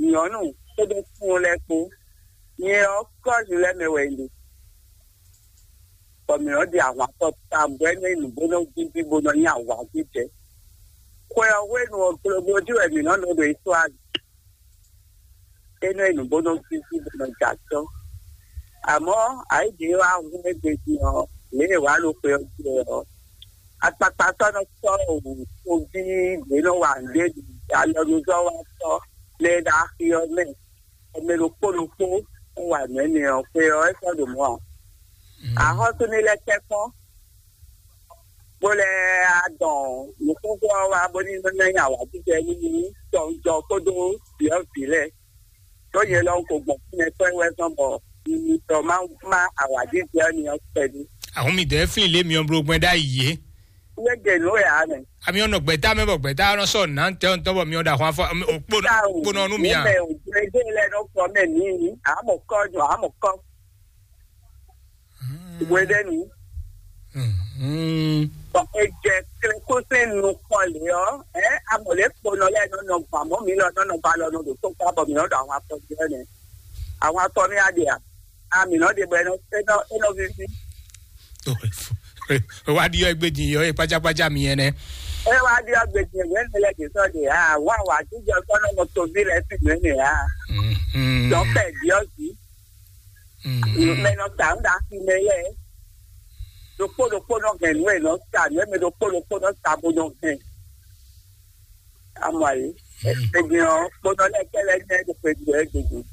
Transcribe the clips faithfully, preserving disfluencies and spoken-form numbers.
Nyɔ̌nu kpódó súnnu lɛ́ɛ kpó. Nyɛ ɔ́, kɔ́ju lɛ́ɛ mɛ wɛ un ɖe, bɔ mǐ nɔ́ ɖi ahwan tɔn tawun bɔ é nɔ́ nyí nǔ bó nɔ́ víví bó nɔ́ nyí awǎjijɛ. Xwe ɔ́ hwenu ɔ́, glogbo jí wɛ mǐ nɔ́ nɔ ɖo Isláɛli. É nɔ́ nyí nǔ bó nɔ́ víví bó nɔ́ jɛ acɔ́. Amɔ̌, ayǐ ɖě wá hun égbé din ɔ́, lě e è wǎ ɖo xwe ɔ́ jí wɛ ɔ́, akpakpa sɔ́ nɔ sɔ́ toví ɖě nɔ wa nǔɖé ɖi alɔnuzɔ́watɔ́ lɛ́ɛ ɖo axi ɔ́ mɛ. Mɛ ɖokpó ɖokpó wɔ nǔ énɛ́ ɔ́, xwe ɔ́ é sɔ́ ɖo mɔ̌ ǎ. Axɔ́sú ní lɛ́ tɛ́nkpɔ́n, bó lɛ́ adɔn nǔxoxo ɔ́ wá bó ní nɔ́ ná nyi awǎjijɛ nú tɔnjɔ kpódó vǐ ɔ́ vǐ lɛ́ɛ. Ɖó nyɛ lɔ un ko gbɔn fínɛ́ kpɛ́ wɛ zɔ́n bɔ un tɔ má má awǎjijɛ ɔ́ ní ɔ́ kpɛɖé. Ahun mi dɛ́ flin lě myɔ bló gbɛn ɖ'ayǐ é. Wé ɖe nǔ wɛ ǎ mɛ. Ami ɔ́ nɔ gbɛ̌ta mɛ bɔ gbɛ̌ta nɔ sɔ́ nǎ tɔn tɔn bɔ myɔ ɖo ahwan fɔ kponɔ nú mi a. Mɛ òjò ẹgbẹ́ lɛ nɔ fɔ mɛ mí. Àmọ̀ kọ́ jọ àmọ̀ kọ́. Wé ɖe nǔ. Bɔ è jɛ klekúsín nukɔn lě ɔ́, ɛ amɔ̌ lě kponɔ lɛ́ɛ nɔ nɔ gbǎn mɔ̌ mǐ lɔ nɔ nɔ ba lɔ nɔ ɖo tó kpá bɔ mǐ nɔ ɖo ahwan tɔn jí ɔ́ nɛ́. Ahwan tɔn mì á ɖe a? A mǐ nɔ ɖe bɔ é nɔ é nɔ é nɔ víví. Wá ɖi ɔ́ gbé din yɔ é kpácákpácá mi ɛnɛ. É wá ɖi ɔ́ gbé din yɔ é lɛ ɖě sɔ́ ɖe a wá wá jíjɔ sɔ́ nɔ mɔ toví lɛ sí nǔ ɛnɛ a. Dɔn pɛ ɖi ɔ́ jí. Mɛ nɔ sa nǔ ɖe asi mɛ lɛ. Ɖokpó ɖokpó nɔ hɛn nǔ e nɔ sa nǔ e mɛ ɖokpó ɖokpó nɔ sa bó nɔ hɛn. Amɔ ayi. Egbin ɔ kpónɔ lɛ kɛlɛ nyɛ ɖo xwe ɖu ɛ gbogbo.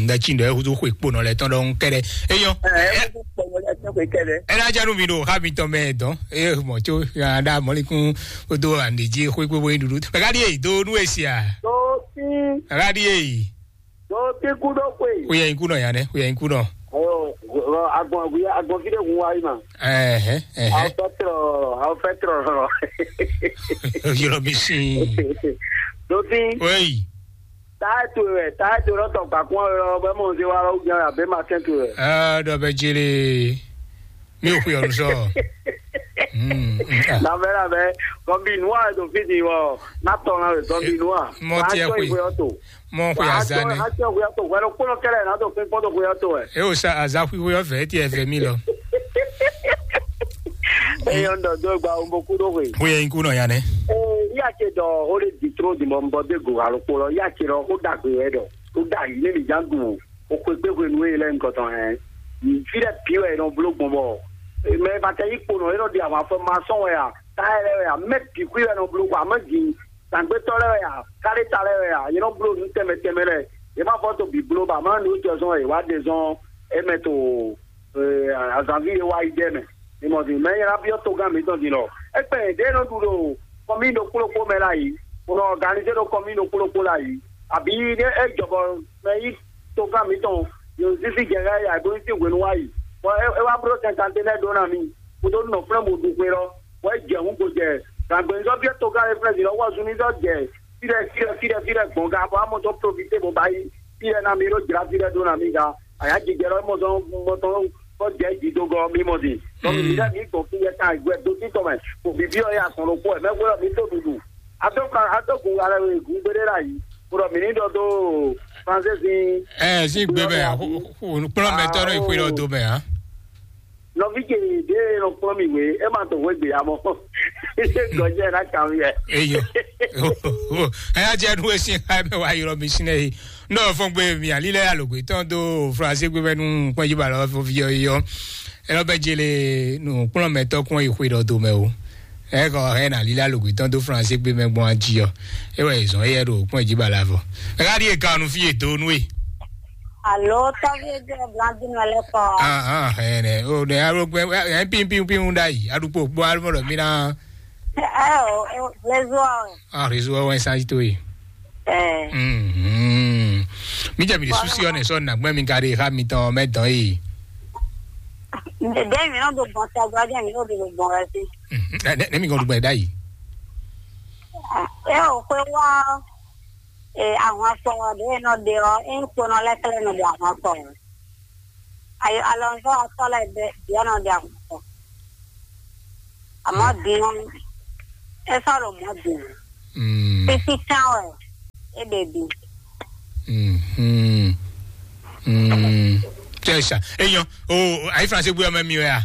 Ɖe tsi ɖe hudu xwe kponɔ lɛ tɔn ɖɔhun kɛɖɛ. Eyɔ. Ɛ ɛ kpónɔ lɛ tɔn xwe kɛlɛ. Ɛ na janu mi ɖo ha mi tɔn mɛ dɔn. Eye mɔ tso ya ɖa mɔlikun o do ande dzi xwe kpekpe yi ɖuɖu. Mɛ ka ɖi eyi do nu esi a? Doti. Mɛ ka ɖi eyi. Doti kudo kwe. Kuya yi kunɔ ya nɛ, kuya yi kunɔ. Ayo, agbɔn agbɔn agbɔn fi de kun wa yi ma. Ɛhɛ ɛhɛ. Awo fɛ trɔ, awo fɛ trɔ. Yɔrɔ mi sin. Doti. Oyi. Táyà towe wɛ, táyà towe lɔ tɔ gbakun ɔ́ lɔ bɛ mɔ nze wa lɔ wú jɛn abɛ ma kɛn towe wɛ. Ɛɛ dɔ bɛ jele. Mi ò xwe ɔnu sɔ. Labɛ labɛ, gɔnbi nu a do fi di wɔ, na tɔ na wɛ gɔnbi nu a. Mɔ tiɛ xwe. Mɔ xwe azanɛ. A tiɛ xwe to, wɛrɛ kpɔnɔ kɛlɛ na do fi kpɔn do xwe to wɛ. E o sa aza xwe xwe ɔfɛ, e tiɛ fɛ mi lɔ. Eyɔn dɔ do gba o mo ku do xwe. Xwe yɛ nyi ku nɔ ya nɛ. Ee, iya ce dɔ o de di tro di mɔ nbɔ de go alo kpolɔ, iya ce dɔ o dagbe wɛ dɔ o da yi ne mi jan gun o xwe gbe xwe nu e lɛ nkɔtɔn hɛn. Fi dɛ pi wɛ nɔ blo gbɔn bɔ mɛ ba tɛ yi kpo nɔ e nɔ di àwọn afɔ ma sɔn wɛ a, ta yɛ lɛ wɛ a, mɛ bi xwi wɛ nɔ blo kɔ a, mɛ di tàgbétɔ lɛ wɛ a, káléta lɛ wɛ a, yɛ nɔ blo nu tɛmɛ tɛmɛ lɛ, yɛ ma fɔ to bi blo ba ma nu jɔ zɔn e wa de zɔn e mɛ to azanvi e wá yi jɛ mɛ. Ni mɔ din mɛ nyɛ na byɔ́ togán mǐtɔn din lɔ. Égbɛ́ ɖě nɔ ɖu ɖo kɔmí ɖokpó ɖokpó mɛ la yi, bó nɔ ɔganizé ɖo kɔmí ɖokpó ɖokpó la yi. Abǐ ɖé é jɔ bɔ mɛ yí togán mǐtɔn yǒ zízí jɛ xá ya bó ní sín hwenu wá yi. Bɔ é wá bló sɛnkanténɛ́ ɖó ná mì. Kúdó nɔ flɛ́ mo ɖu xwe lɔ. Bɔ é jɛ hǔn gbo jɛ. Gǎngbɛ́nzɔ́ byɔ́ togán e flɛ́ din lɔ wɔ zunmízɔ́ jɛ fí ɖɛ fí ɖɛ fí ɖɛ fí ɖɛ gbɔn ga bɔ amɔ tɔn profité bó ba yi fí ɖɛ ná mì ɖó jlá fí ɖɛ ɖó ná mì ga. Ayǎjijɛ lɔ mɔ tɔn mɔ tɔn kɔ jɛ jidogɔ mi mɔ di. Tɔn mi lɛ mi gbɔn fi yɛ kan gbɛ do titɔ mɛ ko bibi ɔ ya sɔn ɖokpɔ ɛ mɛ gbɔdɔ mi to dudu. Ato kan ato kun alɛ we gun gbede la yi. Kúrò mi ní dɔ do français sin. Ɛ sí gbé bɛ kplɔn mɛ tɔn náà ìpínlẹ̀ odò mɛ hàn. Nɔvi ce ɖe nɔ kplɔn mi we e ma to we gbe amɔ. Gɔjɛ na kan mi yɛ. Eyo. Ɛ yà jẹ́ nu esi ká mɛ wá yọrọ mi sinɛ yi. Nɔ fɔn gbe mi ali lɛ alogbe tɔn do français gbe bɛ nu kpɔn yi ba lɔ fɔ fi yɔ yɔ. Ɛ lɔ bɛ jele nu kplɔn mɛ tɔ kpɔn yi xwe dɔ do mɛ o. Ɛ kɔ ɛ na lila logbe tɔn do français gbe mɛ gbɔn aji ɔ. E wɛ zɔn eyɛ ɖo kpɔn yi ba la fɔ. Ɛ ka ɖi e kanu fi e do nu e. Alo, tɔvi e jɛ blandu nɔ lɛ kɔ. Ah ah ɛ nɛ o ne alo gbɛ ɛ pin pin pin da yi aɖukpo gbɔ alo mɔ mi na. Ɛ o, réseau ɔ. Ah réseau ɔ wɛ sanji to yi. Ɛ. Mhm. Mi jɛ mi de susi ɔ ne sɔ nagbɛ mi ka de ha mi tɔn mɛ dɔn yi. Dɛ mi nɔ do gbɔn sɛ gbɔ dɛ mi nɔ do gbɔn wɛ si. Mhm. Ne ne mi gɔn do gbɛ da yi. Ɛ o, xwe wɔ. Ee, ahwan sɔ ɖe nɔ ɖe ɔ, e kponɔ lɛ kɛlɛ nɔ ɖe ahwan sɔ. Ayo alɔnzɔ atɔ lɛ ɖe biɔ nɔ ɖe ahwan sɔ. Amɔ din ɔ, e sɔ ɖo mɔ din. Titi kan wɛ. É ɖe bǐ. Mhm. Mm. Tɛ sa. Eyan. O, ayi France bu ya mɛ mi wɛ a?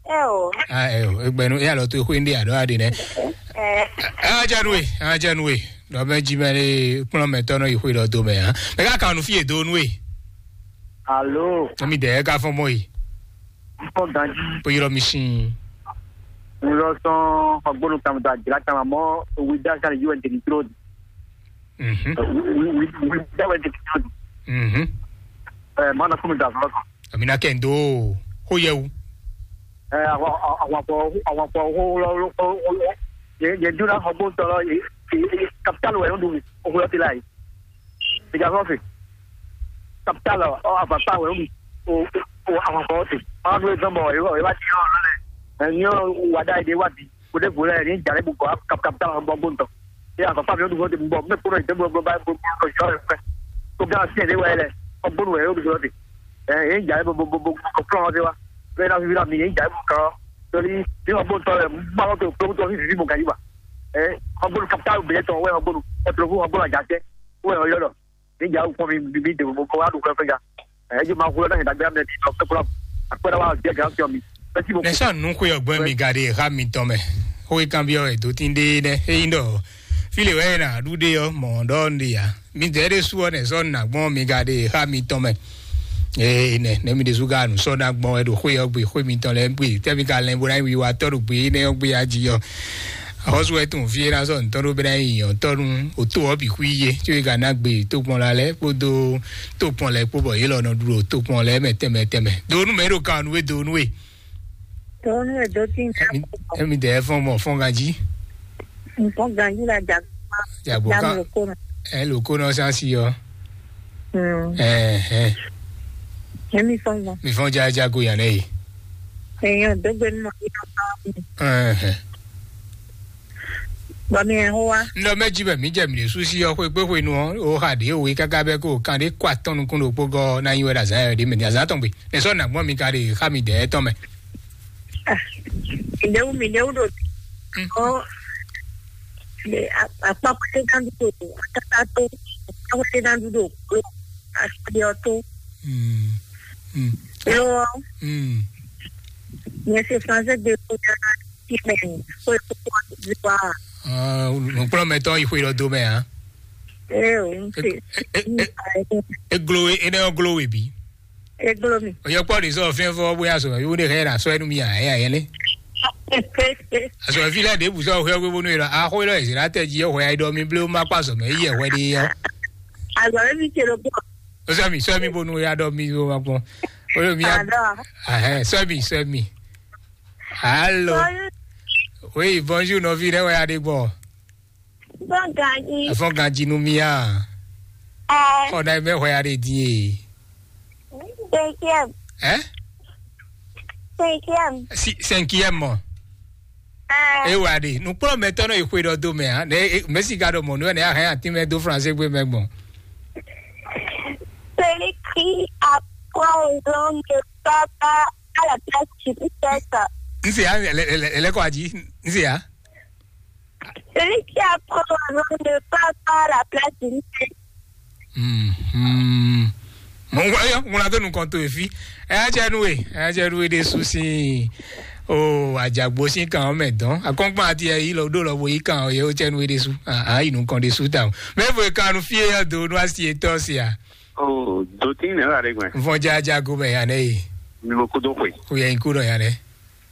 Ɛ o. Ah, ɛ o. Egbɛnu eya lɔ to exwe ndi adɔ adi nɛ. Ɛ. Ajanue, ajanue. Dɔ mɛ ji mɛ le kplɔn mɛ tɔnɔ yi xwe lɔ do mɛ a. Mɛ ka kanu fi edo nue. Alo. Tɔmi dɛ ka fɔn mɔ yi. Fɔ ganji. Po yɔrɔ mi sin. N lɔ sɔn xɔgbónu kan da jira kan mɔ wi da kan yɔ ntɛni tro. Mhm. Wi wi wi da wɛ ntɛni tro. Mhm. Ɛ mana kunu da fɔlɔ kan. Amina kendo. Ko yɛ wu. Ɛ àwọn àwọn àwọn àwọn àwọn yẹ yẹ dúró xɔgbónu tɔlɔ yẹ capital wɛ yóò dùn òkúlọ ti la yìí. Ìjà sọ́ọ̀sì. Capital ɔ àfàtà wẹ̀ ń o o àwọn kan ọ̀sìn. Wọ́n á dúró sọ́mọ ìwọ ìwà tí yọ̀ lọ́lẹ̀. Ẹ̀yin ọ̀ wà dá ìdí wà bí. Kò dé bò lẹ̀ ní ìjà lẹ́bù kọ́ capital ọ̀ bọ́ gbóǹtọ̀. Ṣé àfàtà mi ó dùn fún ti bọ̀ mí kúrò ìdí bọ̀ bá gbogbo ọ̀ṣọ́ rẹ̀ pẹ́. Tó bí wọ́n sí ẹ̀dí wáyé lẹ̀ ọgbónú ẹ̀ ó dùn fún ti. Ẹ̀yin ìjà lẹ́bù bọ̀ bọ̀ bọ̀ kọ̀ fúlọ̀ wọn ti wá. Bẹ́ẹ̀ náà fi fi náà mi ní ìjà lẹ́bù kan. Torí bí wọ́n gbóǹtọ̀ rẹ̀ ń bá wọn tó kúrò tó fi fi mọ̀ gàdí wa. Ẹ̀ ọgbónú capital bẹ̀rẹ̀ tọ̀ wẹ́ ọgbónú ọ̀tọ̀ fún ọgbónú àjàṣẹ́. Wẹ́ ọ̀yọ́ lọ. Níjà ó pọ́n mi bíbí dè mo kó wá dùn fẹ́fẹ́ ya. Ẹ jẹ́ máa kú lọ́dọ̀ yẹn dàgbé àmì ẹ̀mí lọ pẹ́ kúrò. Àpẹẹrẹ wa jẹ́ gàá fi ọ̀mí. Ẹ sì mo kú. Nɛsɔ nukwe ɔgbɔn mi ga ɖe xa mi tɔn mɛ. Xo yi kan bi ɔ edo tin ɖe nɛ eyi ɖɔ file wɛ na ɖu ɖe ɔ mɔ ɖɔ ɖe ya mi dɛ ɖe su ɔ nɛsɔ na gbɔn mi ga ɖe xa mi tɔn mɛ. Ee nɛ nɛ mi ɖe su ga nu sɔ na gbɔn ɛ ɖo xwe ɔ gbe xwe mi tɔn lɛ gbe tɛ mi ka lɛ bo na yi wi wa tɔ ɖo gbe nɛ ɔ gbe ya ji ɔ. Axɔ́sú wɛ tunwun fí é ná sɔ́ ntɔ́ ɖó bɛ́ ná nyi nyɔ̌tɔ́ nú òtó ɔ́ bǐ xwí yé, có é ka ná gbe tokpɔnla lɛ́ɛ kpódó tokpɔn lɛ́ɛ kpó bɔ yě lɔ nɔ ɖu ɖo tokpɔn lɛ́ɛ mɛ tɛnmɛ tɛnmɛ. Do nú mɛ é ɖo kan nú we do nú we. Tɔnu e do tin Emi emi dɛ fɔn mɔ fɔn ganji. Nǹkan ganji la dàgbà. Jagbo dàmú kan lóko nù. Ɛ lóko nɔ sá sí yɔ. Hmm. Ɛhɛn. Èmi fɔn gan. Mi fɔn jaja go yan nɛ yi. Èèyàn dógbe nínú ọdún náà. Ɛhɛn. Bɔ mi ẹ̀ hó wá. N lɔ mɛ jí bɛ mi jɛ mi ɖe sú sí yɔ xwe gbé xwe nu ɔ o xa ɖě o yi káká bɛ kó o kan ɖé kó atɔn nukún ɖokpó gɔ ná nyi wɛ ɖo azǎn yɛ ɖě mɛ ní azǎn tɔn gbe. Nɛ sɔ nà gbɔn mi ka ɖe xa mi dɛ tɔn mɛ. Ìdéwú mi ìdéwú ɖo ɔ akpákpáté gán dúdú akátá tó akpákpáté gán dúdú òkúlò aṣọ tó. Mm. Mm. Ló Mm. Yẹn ṣe fúnṣẹ́ gbé kó yára sí mẹ́rin kó ikú kó wá sí wá. Nukplɔ́nmɛtɔ́ yi xwe ɖɔ dó mɛ ǎ. Ẹ ò ń ṣe. Eglo enɛ ɔ glo we bí. Eglo mi. Oyɔ kpɔ ɖe sɔ fɛn fɔ bóyá sɔ yóò ɖe xɛ na sɔ ɛnu mi aya yɛ lé. Asɔ fi lɛ ɖe bu sɔ xɛ wé bónú yɛ lɔ axɔ yɛ lɔ ezira tɛ ji yɛ xɔ ya ɖɔ mi blé ma kpa sɔ mɛ yɛ xɔ ɖe yɛ. Azɔ mi ce lo gbɔ. Sɔ mi sɔ mi bónú ya ɖɔ mi bó ma kpɔn. Oyɔ mi ya. Azɔ. Ahɛ sɔ mi sɔ mi. Alo. Oui, bonjour nɔvi ɖe wɛ ya ɖe gbɔ. Fɔn ganji. Fɔn ganji nu mia. Ɛ. Xɔ na mɛ xɔ ya ɖe di e. Cinquième. Ɛ? Cinquième. Si cinquième mɔ. Ɛ. E wa ɖe nukplɔ mɛ tɔnɔ yi xwe ɖɔ do mɛ a ne e mɛ si ka ɖɔ mɔ nu ne a hɛn ati mɛ do français gbe mɛ gbɔn. Celui qui apprend aux hommes ne va pas à la place du professeur. N se ya ele ele ele kɔ aji n se ya. Celui qui apprend aux hommes ne parle pas à la place d'une femme. Mhm. Mo wa yo mo la do nukɔn to efi. Ɛ a jɛ nu e ɛ a jɛ nu e de su si o ajagbo si kan mɛ dɔn akɔnkpan ati ɛ yi lɔ do lɔ bo yi kan ye o jɛ nu e de su a yi nukɔn de su ta o mɛ vo kan nu fie ya do nu asi etɔ si a. O do tin ne la de gbɛ. Vɔn jaja go mɛ ya ne yi. Mi mo kudo xwe. O yɛ nyi kudo ya ne.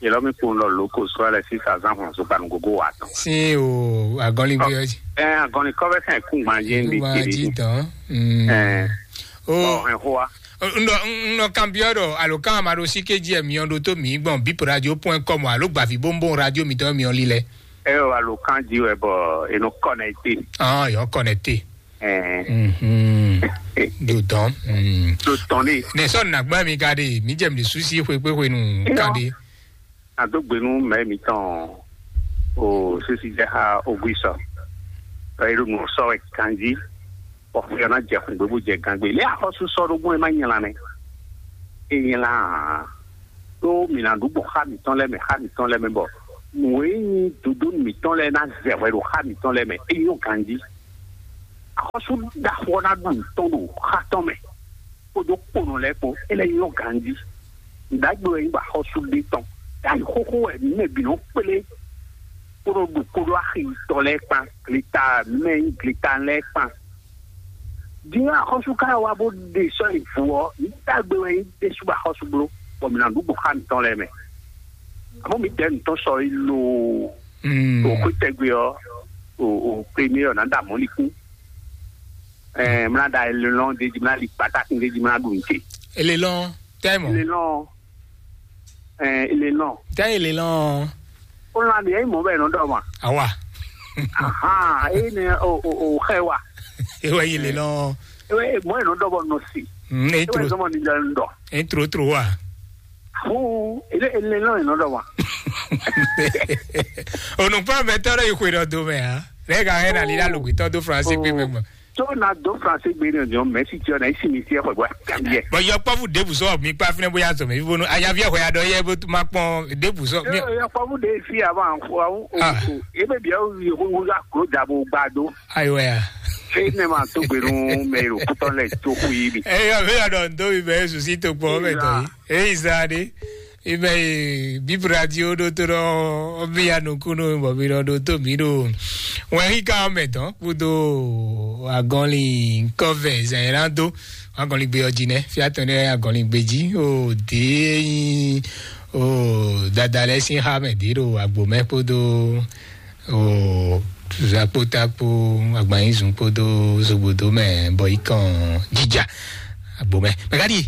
Yelɔmi kpowun lɔ loko sɔ lɛ sisa zan hɔn so kpanu gogo wa tɔn. Sin o agɔnli bi ɔji. Ɛ agɔnli kɔfɛ sɛn kungban jɛ ndi Wa kiri. Ji tɔn. Mm. Ɛ O ɔ ɛ hoa. N dɔ n dɔ kan biɔ dɔ alo kan ma ɖo si ke ji ɛ miɔ ɖo to mi gbɔn bip radio point com alo gbavi bonbon radio mi tɔn miɔ li lɛ. Ɛ o alo kan ji wɛ bɔ eno connecté. Ah yɔ connecté. Ɛ Mhm. Do tɔn. Mm. Do tɔn ne. Ne sɔ nagba mi ka de mi jɛ mi susi xwe kpe xwe nu kan de. Ado gbe nú mɛ mitɔn o sisi jɛ ha ogui sɔ. Ɛ ɖo nu sɔ wɛ kanji. Bɔ xɔ na jɛ xun gbegbo jɛ gangbe. Lé axɔsu sɔ ɖo gbɔn e ma nyla nɛ. E nyla ɖó mi na ɖu gbɔn xa mitɔn lɛ mɛ xa mitɔn lɛ mɛ bɔ. Nǔ e nyí dodo mitɔn lɛ na zɛ hwɛ ɖo xa mitɔn lɛ mɛ. E nyɔ ganji. Axɔ́sú ɖaxó ɔ́ ná ɖu nǔ tɔn ɖo xá tɔn mɛ, kpódó kponɔ lɛ́ɛ kpó, é lɛ́ nyɔ́ ganjí. Nǔɖagbe wɛ nyí bɔ axɔ́sú ɖé tɔn. Yá yi xóxó wɛ mǐ mɛ bǐ nɔ kplé, kpódó ɖu kpódó axi tɔn lɛ́ɛ kpán, gleta mɛ nyí gleta lɛ́ɛ kpán. Din axɔ́sú ka wá bó ɖe sɔ́ yi vǔ ɔ́, nǔɖagbe wɛ nyí ɖésú bɔ axɔ́sú bló, bɔ mǐ ná ɖu gbɔn xá mǐtɔn lɛ́ɛ mɛ. Amɔ̌ mǐ dɛ̌ nǔtɔn sɔ yi loo. Mm. O xwé tɛgbɛ ɔ́, o o premier ɔ́ ná ɖa mɔ̌likún. Ɛɛ mla ɖa elelɔn ɖe jí mla ɖi kpatakun ɖe jí mla ɖu nte. Elelɔn tɛmɔ. Elelɔn. Ɛɛ elelɔn. Tɛ elelɔn. O lan ɖe eyi mɔ bɛ nɔ dɔ ma. Awa. Ahan eyi ne o o o xɛ wa. Ewa yi elelɔn. Ewe mɔ yi nɔ dɔ bɔ nɔ si. Mm, e Ewe tro. Sɔmɔ ni lɛ ndɔ. E tro tro wa. Fún ele ele náà iná dɔ wa. Onukpa mɛ tɔrɔ yi xwe dɔ do mɛ ha. Lɛ ka hɛn na lila lugbe tɔ do France gbe mɛ gbɔn. Tó na dó France gbe ní ọ̀nà mẹ́sì tí ọ̀nà ìsìn ní sí ẹ̀kọ́ ìgbà kàmíyẹ. Bɔn yɔ kpɔfu debu sɔ mi kpa finɛ bóyá zɔ mi bónú ayavi ẹ̀kọ́ ya dɔ yẹ bó ma kpɔn debu sọ mi. Yọ kpɔfu de fi àwọn àwọn Ah. Ebe bia wo yi wo ya kúrò dabo gbado. Ayiwa ya. Fɛn ne ma tó gbèrú mɛ ìlú kútọ́ lẹ̀ tó kú yìí bi. Eyɔ mi yɔ dɔ ndo mi bɛ Yesu si to kpɔ mɛ tɔ yi. Eyi zan de. Ibɛ yi Bib Radio ɖo to ɖɔ mi ya nukunu bɔ mi ɖɔ ɖo to mi ɖo. Wɛn yi ka mɛ tɔn kudo agɔnli kɔvɛ zɛn yɛn na do agɔnli gbe ɔdzi nɛ fia tɔn ɖe agɔnli gbe dzi o de yin o dada lɛ sin ha mɛ de ɖo agbo mɛ kpodo o zakpota kpo agbanyizun kpodo zogbodo mɛ bɔ yi kàn jija agbo mɛ mɛ ka di.